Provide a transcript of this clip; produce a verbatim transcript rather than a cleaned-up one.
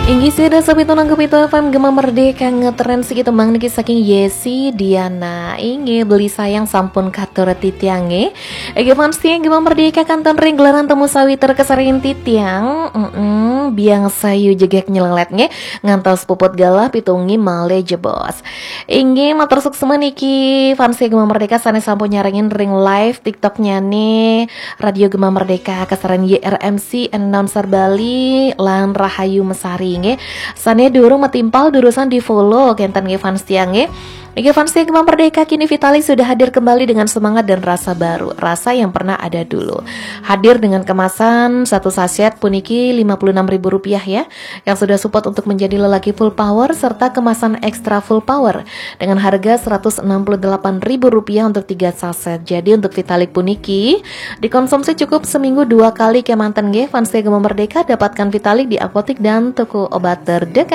Inggih, sida sapitu nang kapitu F M Gema Merdeka, ngetren siki tembang niki saking Yesi Diana. Inggih, beli sayang sampun katur titiange. Inggih, fans tiang Gema Merdeka, kanten ring gelaran temu sawitra kesarin titiang. Mm-mm, biang sayu jegek nyelelet nge, ngantos puput galah pitungi male jebos. Inggih, matur suksma niki fans Gema Merdeka sane sampun nyarengin ring live TikTok-nyane Radio Gema Merdeka, kesaran Y R M C, announcer Bali, lan Rahayu Mesari nggih. Sane durung matimpal, durusang di-follow kenten nggih fans tiang nggih. Nggih, fans tiang Gema Merdeka, kini Vitalik sudah hadir kembali dengan semangat dan rasa baru, rasa yang pernah ada dulu. Hadir dengan kemasan satu saset puniki lima puluh enam ribu rupiah ya, yang sudah support untuk menjadi lelaki full power, serta kemasan extra full power dengan harga seratus enam puluh delapan ribu rupiah untuk tiga saset. Jadi untuk Vitalik puniki dikonsumsi cukup seminggu dua kali kemanten nggih. Fans Gema Merdeka, dapatkan Vitalik di apotik dan toko obat terdekat.